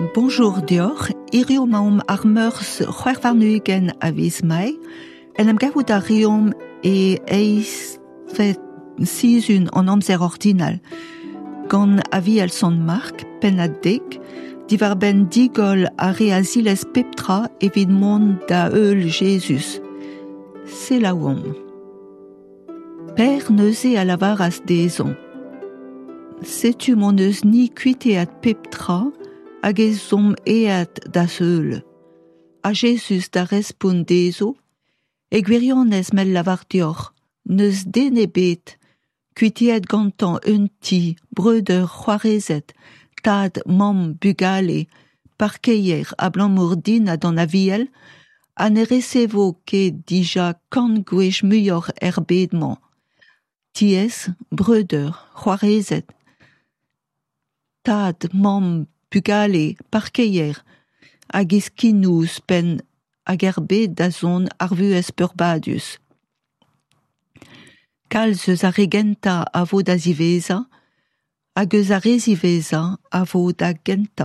Bonjour deoc'h, hiziv emaomp ar Meurzh 26 a viz Mae. En em gavout a reomp e eizhvet sizhun an amzer ordinal. Gant Aviel Sant Mark, pennad dek, diwar-benn digoll ar re a zilez pep tra evit mont da heul Jezuz. Selaouomp. Pêr neuze a lavaras dezhañ: Setu m'hon eus-ni kuiteat pep tra hag ez omp aet da'z heul. Ha Jezuz da respont dezho: E gwirionez m'el lavar deoc'h, n'eus den ebet kuiteet gantañ un ti, breudeur, c'hoarezed, tad, mamm, bugale, parkeier abalamour din ha d'an Aviel, ha ne resevo ket dija kant gwech muioc'h er bed-mañ. Tiez, breudeur, c'hoarezed, tad, mamm, bugale, parkeier, hag eskinoù ouzhpenn hag er bed da zont ar vuhez peurbadus. Kalz eus ar re gentañ a vo da ziwezhañ hag eus ar re ziwezhañ a vo da gentañ.